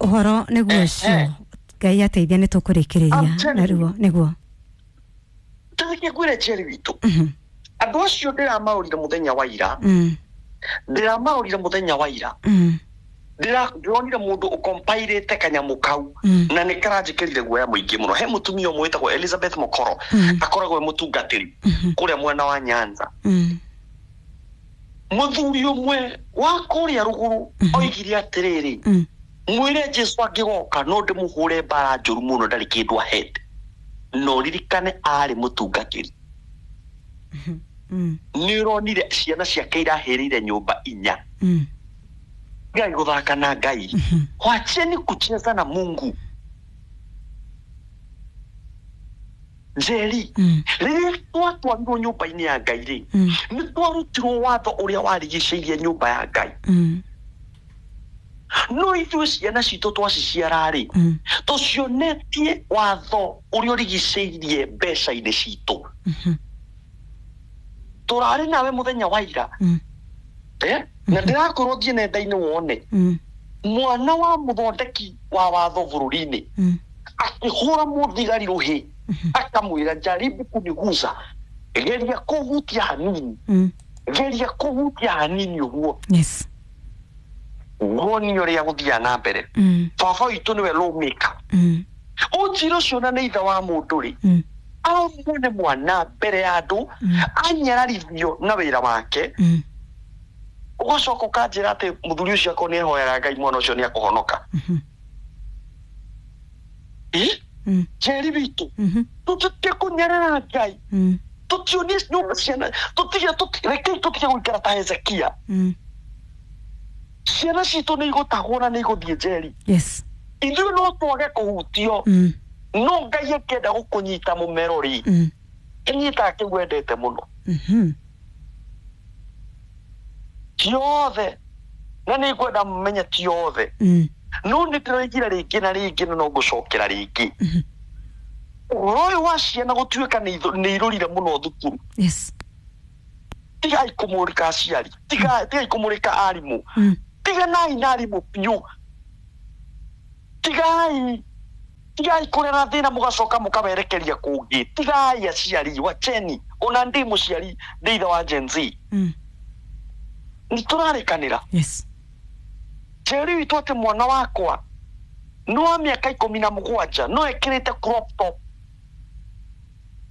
Ũhoro nĩguo ũcio. Ngai ateithia nĩ tũkũrĩkĩrĩria I'm telling naruo nĩguo. Tũthiĩ ngwĩre Njeri witũ, andũ acio ndĩramaũrire mũthenya wa ira, ndĩramaũrire mũthenya wa ira, ndĩronire mũndũ ũkompairĩte kanyamũ kau, na nĩ karanjĩkĩrire guoya mũingĩ mũno. He mũtumia ũmwe wĩtagwo Elizabeth Mokoro, akoragwo e mũtungatĩri kũrĩa mwena wa Nyanza. Mũthuri ũmwe wa kũrĩa rũgũrũ oigire atĩrĩrĩ, mwĩre Jesu angĩgoka no ndĩmũhũre mbara njũru mũno, ndarĩ kĩndũ ahete. No ririkane arĩ mũtungatĩri. Nĩ ũronire ciana ciake irahĩrĩire nyũmba inya. Ngai gũthaka na Ngai, wacheni kucheza na Mungu. Njeri, rĩrĩa twatwarirwo nyũmba-inĩ ya Ngai rĩ, nĩ twarutirwo watho ũrĩa warigicĩirie nyũmba ya Ngai. No ithuĩ ciana citũ twaciciara rĩ, tũcionetie watho ũrĩa ũrigicĩirie mbeca-inĩ citũ. Tũrarĩ nawe mũthenya wa ira, eh? Na ndĩrakorwo thiĩ nenda-inĩ wone mwana wa mũthondeki wa watho bũrũri-inĩ akĩhũra mũthigari rũhĩ, akamwĩra, "Jaribu kuniguza, geria kũhutia hanini, geria kũhutia hanini ũguo." Woni ũrĩa gũthiaga na mbere. Baba witũ nĩwe lawmaker. Ũnjĩre ũcio na nĩ ithe wa mũndũ rĩ, amwone mwana mbere ya andũ anyararithio na wĩra wake, ũgacoka ũkanjĩra atĩ mũthuri ũcio akorwo nĩ ehoyaga Ngai mwana ũcio nĩ akũhonoka. Ĩ, Njeri witũ, tũtige kũnyarara Ngai. Tũtionie nyũmba ciana, tũtige rekei tũtige gũikara ta Hezekia. Ciana citũ nĩ igũtahwo na nĩ igũthiĩ njeri. Ithuĩ no twage kũhutio, no Ngai akĩenda gũkũnyita mũmero rĩ, ĩnyitaga kĩu wendete mũno. Ti othe, na nĩ ngwenda mũmenye ti othe, no nĩ ndĩroigire rĩngĩ na rĩngĩ na no ngũcokera rĩngĩ, ũhoro ũyũ wa ciana gũtuĩka nĩ irũrire mũno thukuru. Tigai kũmũrĩka aciari, tigai kũmũrĩka arimũ. Tiganai na arimũ biũ. Tigai kũrera thĩna mũgacoka mũkawerekeria kũngĩ. Tigai aciari, wacheni. Ona ndĩ mũciari, ndĩ ithe wa Gen Z. Nĩ tũrarĩkanĩra. Njeri witũ, atĩ mwana wakwa nĩ wa mĩaka 17 no ekĩrĩte crop top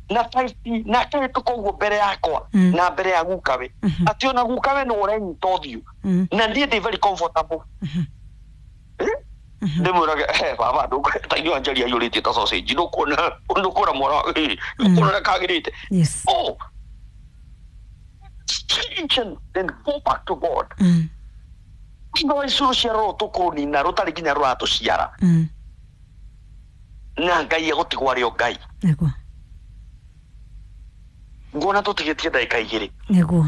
na tight na akahĩtũka ũguo mbere yakwa na mbere ya gukawe, atĩ ona gukawe nĩ ũrenyita ũthiũ, na niĩ ndĩ very comfortable. Eh? Ndĩmwĩrage, "Eh, baba, ta inyuĩ Njeri aiyũrĩtie ta sausage, ndũkuona mwana, ndũkuona ũrĩa kagĩrĩte." Oh, change and then go back to God. No ici rũciaro rũrũ tũkũrũnina rũtarĩ nginya rũratũciara, na Ngai egũtigwo arĩ o Ngai. Nguona tũtigĩtie ndagĩka 2.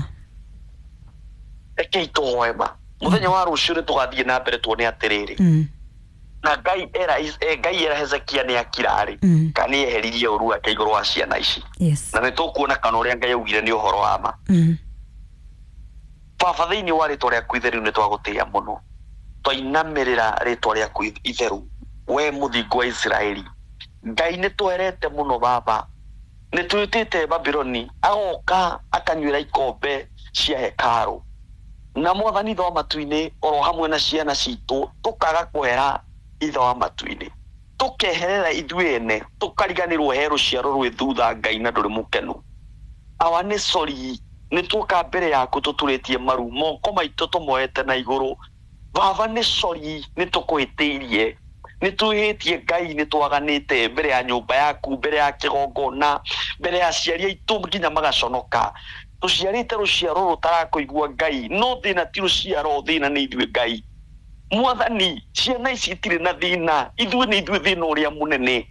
Rekei tũhoe ma mũthenya wa rũciũ nĩ tũgathiĩ na mbere tuone atĩrĩrĩ, na Ngai era Ngai era Hezekia nĩ akirarĩ kana nĩ eheririe ũru wake igũrũ wa ciana ici. Na nĩ tũkuona kana ũrĩa Ngai augire nĩ ũhoro wa ma. Baba, thĩinĩ wa rĩtwa rĩaku itheru nĩ twagũtĩĩa mũno, twainamĩrĩra rĩtwa rĩaku itheru, we mũthingu wa Isiraeli. Ngai, nĩ twerete mũno. Baba, nĩ twĩtĩte Babiloni agoka akanyuĩra ikombe cia hekarũ na Mwathani ithe wa matu-inĩ, oro hamwe na ciana citũ, tũkaga kũhera ithe wa matu-inĩ, tũkeherera ithuĩ ene, tũkariganĩrwo he rũciaro rwĩ thutha. Ngai, na ndũrĩ mũkenu. Awa, nĩ sorry, nĩ tuoka mbere yaku tũturĩtie maru, moko maitũ tũmoete na igũrũ. Baba, nĩ sorry, nĩ tũkũhĩtĩirie, nĩ twĩhĩtie. Ngai, nĩ twaganĩte mbere ya nyũmba yaku, mbere ya kĩgongona, mbere ya aciari aitũ nginya magaconoka. Tũciarĩte rũciaro rũtarakũigua, Ngai, no thĩna ti rũciaro, thĩna nĩ ithuĩ. Ngai Mwathani, ciana ici itirĩ na thĩna, ithuĩ nĩ ithuĩ thĩna ũrĩa mũnene.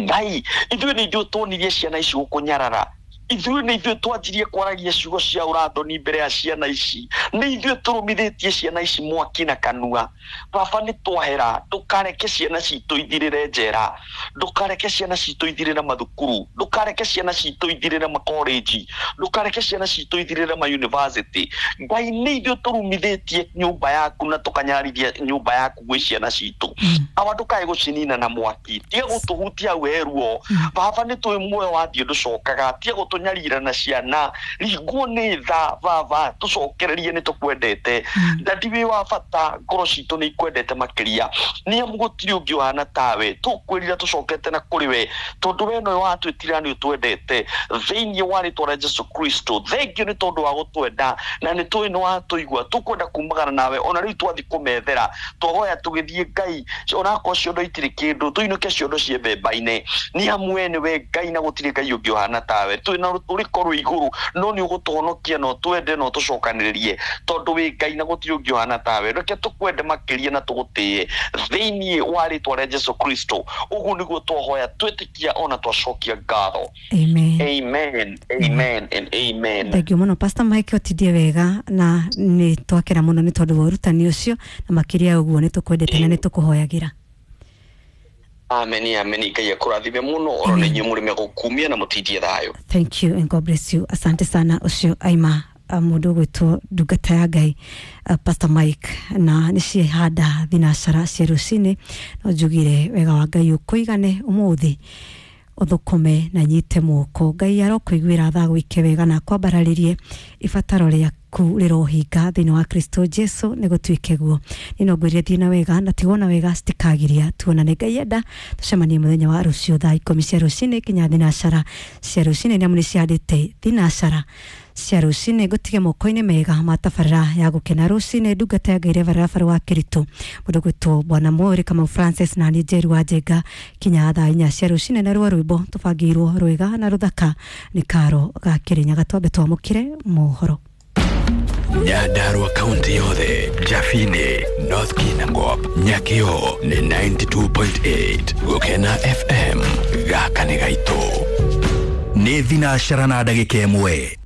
Ngai, ithuĩ nĩ ithuĩ tuonirie ciana ici gũkũnyarara. Ithuĩ nĩ ithuĩ twanjirie kwaragia ciugo cia ũrathoni mbere ya ciana ici, nĩ ithuĩ tũrũmithĩtie ciana ici mwaki na kanua. Baba nĩ twahera, ndũkareke ciana citũ ithirĩre njera, ndũkareke ciana citũ ithirĩre mathukuru, ndũkareke ciana citũ ithirĩre makorenji, ndũkareke ciana citũ ithirĩre mayunivasĩtĩ. Ngai nĩ ithuĩ tũrumithĩtie nyũmba yaku na tũkanyarithia nyũmba yaku gwĩ ciana citũ. Awa ndũkae gũcinina na mwaki, tiga gũtũhutia we ruo. Baba nĩ tũĩ muoyo wathiĩ ndũcokaga, tiga gũtũnyarira na ciana, ringwo nĩ tha baba, tũcokererie nĩ tũkwendete. Ndadi wĩ wa bata, ngoro citũ nĩ ikwendete makĩria, nĩ amu gũtirĩ ũngĩ ũhana tawe. Tũkwĩrira tũcokete na kũrĩ we, tondũ we nowe watwĩtira nĩ ũtwendete. Thĩinĩ wa rĩtwa rĩa Jesu Kristo, thengio nĩ tondũ wa gũtwenda na nĩ tũĩ nĩ watũigua. Tũkwenda kumagana nawe ona rĩu twathiĩ kũmethera, twahoya tũgĩthiĩ Ngai, onakorwo ciondo itirĩ kĩndũ, tũinũke ciondo ciĩ mbemba-inĩ, nĩ amu we nĩwe Ngai na gũtirĩ Ngai ũngĩ ũhana tawe. Twĩ na rũtũrĩko rwĩ igũrũ, no nĩ ũgũtũhonokia na ũtwende na ũtũcokanĩrĩrie, tondũ wĩ Ngai na gũtirĩ ũngĩ ũhana tawe. Reke tũkwende makĩria na tũgũtĩe thĩinĩ wa rĩtwa rĩa Jesu Kristo. Ũguo nĩguo twahoya twĩtĩkia ona twacokia ngatho. Amen. Amen, amen and amen. Thengio mũno Pastor Mike, ũtindie wega na nĩ twakena mũno nĩ tondũ wa ũrutani ũcio, na makĩria ũguo nĩ tũkwendete na nĩ tũkũhoyagĩra. Amen, amen. Ngai akũrathime mũno oro nĩ inyuĩ mũrĩme gũkumia na mũtindie thayũ. Thank you and God bless you. Asante sana. Ũcio aima mũndũ ũgwĩtwo ndungata ya Ngai, Pastor Mike, na nĩ ciehanda thinacara cia rũcinĩ. No njugire wega wa Ngai ũkũigane ũmũthĩ, ũthũkũme na nyite moko. Ngai arokũiguĩra tha, gwĩke wega na kwambararĩrie ibataro rĩaku rĩrohinga thĩinĩ wa Kristo Jesu, nĩ gũtuĩke guo. Nĩ no ngwĩrire thiĩ na wega na tigwo na wega citikagiria. Tuonane Ngai enda, tũcemanie mũthenya wa rũciũ thaa 10 cia rũcinĩ kinya thinacara cia rũcinĩ, nĩ amu nĩ ciandĩte thinacara cia rũcinĩ. Ngũtige moko-inĩ mega ma tabarĩra ya gũkena rũcinĩ, ndungata ya Ngai Reverend Rafael wa Kĩritũ, mũndũ gwĩtwo Bwana Mwori Kamau Francis, na niĩ Njeru wa Njenga, kinya thaa 4 cia rũcinĩ. Na ruo rwĩmbo tũbangĩirwo rwega na rũthaka nĩ Karo ga Kĩrĩnyaga. Twambe twamũkĩre mohoro. Nyandarua kaunti yothe, Jafini, North Kinangop, Nyakio nĩ 92.8 Gũkena FM. Gaka nĩ gaitũ. Nĩ thinacara na ndagĩka 1.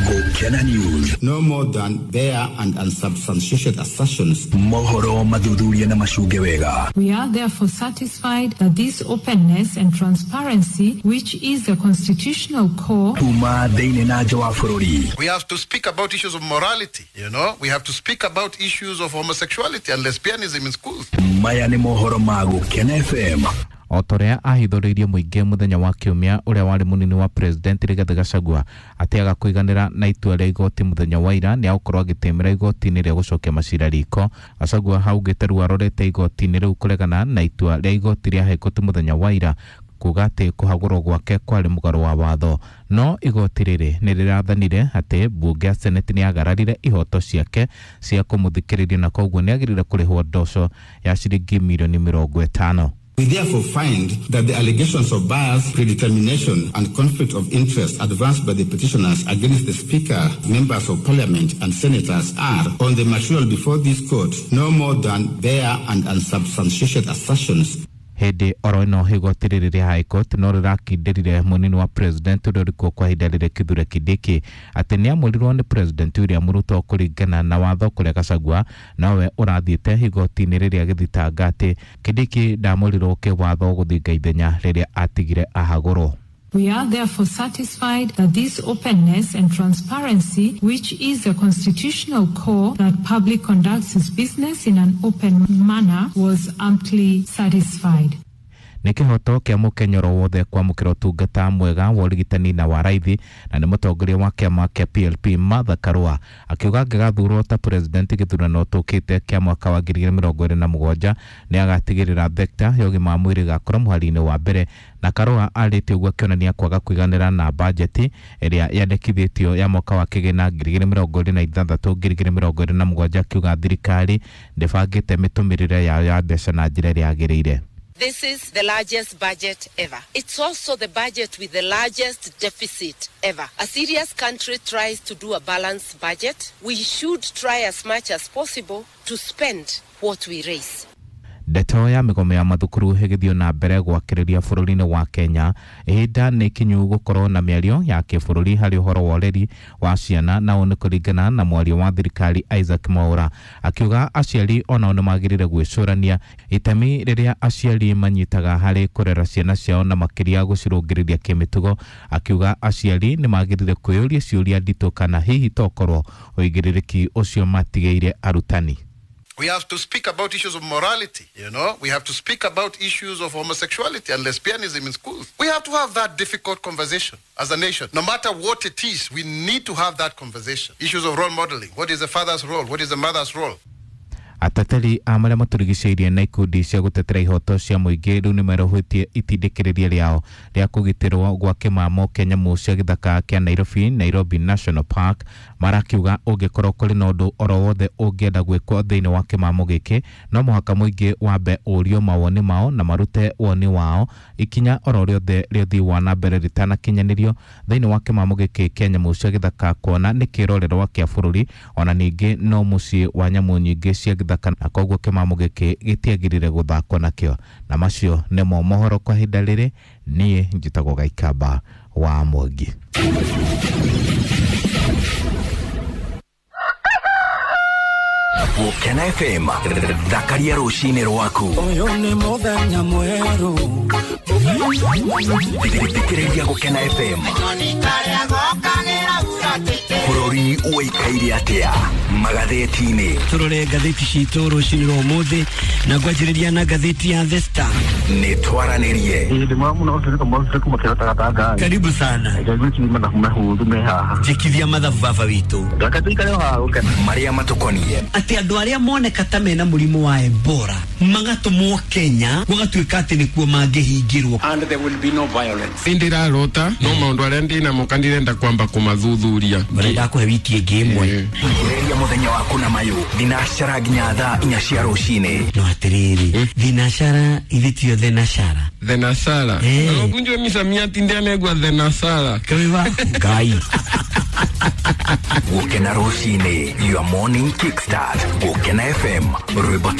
Gũkena News. No more than bare and unsubstantiated assertions. Mohoro mathuthurie na macunge wega. We are therefore satisfied that this openness and transparency, which is the constitutional core, kuma thĩinĩ na nja wa bũrũri. We have to speak about issues of morality, you know. We have to speak about issues of homosexuality and lesbianism in schools. Maya nĩ mohoro ma Gũkena FM. O ta ũrĩa ahithũrĩirie mũingĩ mũthenya wa kiumia, ũrĩa warĩ mũnini wa president Rigathĩ Gachagua atĩaga kũiganĩra na itua rĩa igoti mũthenya wa ira, nĩ agũkorwo agĩtĩmĩra igoti-inĩ rĩa gũcokia macira riko. Gachagua haugĩte rĩu arorete igoti-inĩ rĩu kũregana na itua rĩa igoti rĩa High Court mũthenya wa ira, kuga atĩ kũhagũrwo gwake kwarĩ mũgarũ wa watho. No igoti rĩrĩ nĩ rĩrathanire atĩ mbunge ya Senate nĩ yagararire ihoto ciake cia kũmũthikĩrĩria, na koguo nĩ agĩrĩire kũrĩhwo ndoco ya ciringi mirioni 50. We therefore find that the allegations of bias, predetermination, and conflict of interest advanced by the petitioners against the Speaker, members of Parliament, and senators are, on the material before this court, no more than bare and unsubstantiated assertions. Hĩndĩ oro ĩno igoti rĩrĩ rĩa High Court no rĩrakindĩrire mũnini wa president ũrĩa ũrĩkuo kwa ihinda rĩrĩ Kithure Kindiki atĩ nĩ amũrirwo nĩ president William Ruto kũringana na watho, kũrĩa Gachagua nowe ũrathiĩte igoti-inĩ rĩrĩa agĩthitanga atĩ Kindiki ndamũrirwo kĩwatho gũthinga ithenya rĩrĩa atigire ahagũrwo. We are therefore satisfied that this openness and transparency, which is the constitutional core that public conducts its business in an open manner, was amply satisfied. Nĩ kĩhoto kĩa mũkenya oro wothe kwamũkĩra ũtungata mwega wa ũrigitani na wa raithi, na nĩ mũtongoria wa kĩama kĩa PLP Martha Karua akiuga angĩgathurwo ta president gĩthurano tũkĩte kĩa mwaka wa 2027 nĩ agatigĩrĩra thekta ya ũgima wa mwĩrĩ ĩgakorwo mũhari-inĩ wa mbere. Na Karua arĩtie ũguo akĩonania kwaga kũiganĩra na bajeti ĩrĩa yandĩkithĩtio ya mwaka wa kĩgĩna 2026 2027, akiuga thirikari ndĩbangĩte mĩtũmĩrĩre yayo ya mbeca na njĩra ĩrĩa yagĩrĩire. This is the largest budget ever. It's also the budget with the largest deficit ever. A serious country tries to do a balanced budget. We should try as much as possible to spend what we raise. Ndeto ya mĩgomo ya mathukuru ĩgĩthiĩ na mbere gwakĩrĩria bũrũri-inĩ wa Kenya, ihinda nĩ ikinyu gũkorwo na mĩario ya kĩbũrũri harĩ ũhoro wa ũreri wa ciana, na ũũ nĩ kũringana na mwario wa thirikari Isaac Mwaura, akiuga aciari onao nĩ magĩrĩire gwĩcũrania itemi rĩrĩa aciari manyitaga harĩ kũrera ciana ciao na makĩria gũcirũngĩrĩria kĩmĩtugo. Akiuga aciari nĩ magĩrĩire kwĩyũria ciũria nditũ kana hihi tokorwo ũigĩrĩrĩki ũcio matigĩire arutani. We have to speak about issues of morality, you know. We have to speak about issues of homosexuality and lesbianism in schools. We have to have that difficult conversation as a nation. No matter what it is, we need to have that conversation. Issues of role modeling. What is the father's role? What is the mother's role? Ateteri a marĩa matũrigicĩirie na ikundi cia gũtetera ihoto cia mũingĩ rĩu nĩ merũhĩtie itindĩkĩrĩria rĩao rĩa kũgitĩrwo gwa kĩmamo kĩa nyamũ cia gĩthaka kĩa Nairobi, Nairobi National Park. Marakiuga ũngĩkorwo kũrĩ na ũndũ oro wothe ũngĩenda gwĩkwo thĩinĩ wa kĩmamo gĩkĩ, no mũhaka mũingĩ wambe ũrio mawoni mao na marute woni wao ikinya oro rĩothe rĩa ũthii wa na mbere rĩtanakinyanĩrio thĩinĩ wa kĩmamo gĩkĩ kĩa nyamũ cia gĩthaka, kuona nĩ kĩrorerwa kĩa bũrũri ona ningĩ no mũciĩ wa nyamũ nyingĩ cia gĩthaka, na koguo kĩmamo gĩkĩ gĩtiagĩrĩire gũthakwo nakĩo. Na macio nĩmo mohoro kwa ihinda rĩrĩ. Niĩ njĩtagwo Gaikamba wa Mwangi. Gũkena FM, thakaria rũcinĩ rwaku. Ũyũ nĩ mũthenya mwerũ. Thikĩrĩria Gũkena FM. Bũrũri ũikaire atĩa magathĩti-inĩ? Tũrore ngathĩti citũ rũcinĩ rwa ũmũthĩ na ngwanjĩrĩria na ngathĩti ya The Star. Nĩ twaranĩrie. Karibu sana. Njĩkithia mathabu baba witũ. Marĩa matũkoniĩ. Atĩ andũ arĩa moneka ta mena mũrimũ wa Ebola magatũmwo Kenya gũgatuĩka atĩ nĩkuo mangĩhingĩrwo. And there will be no violence. Ndirarota no maũndũ arĩa ndĩnamo kandirenda kwamba kũmathuthuria. Ndakũhe wiki ĩngĩ ĩmwe. Thikĩrĩria mũthenya waku na mayũ thinacara nginya thaa 4 cia rũcinĩ. No atĩrĩrĩ, thinacara ithe tio thenashara. Thenashara. Ũkunjwe misamiati ndianegwa thenashara. Kaiwa Ngai. Gũkena rũcinĩ, your morning kickstart. Gũkena FM, rwĩmbo.